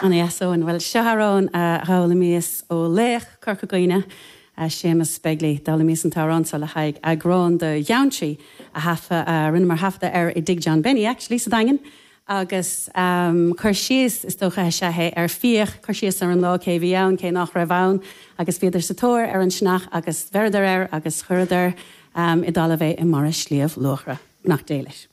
Ana-dheas, Eoin. Bhuel, seo amhrán a d'fhoghlaimíos ó laoch Corca Dhuibhne, Séamus Begley. D'fhoghlaimíos an t-amhrán seo le haghaidh eagrán de Gheantraí a thaifead, a rinneamar taifeadadh air i dTigh John Benny, actually, sa Daingean. Agus cur síos, is dócha, is ea é ar fiach, cur síos ar an lá, cé a bhí ann, cé nach raibh ann. Agus bhíodar sa tóir ar an sionnach agus bheireadar air agus chuireadar i dtalamh é i mbarra Shliabh Luachra. Beannacht Dé leis.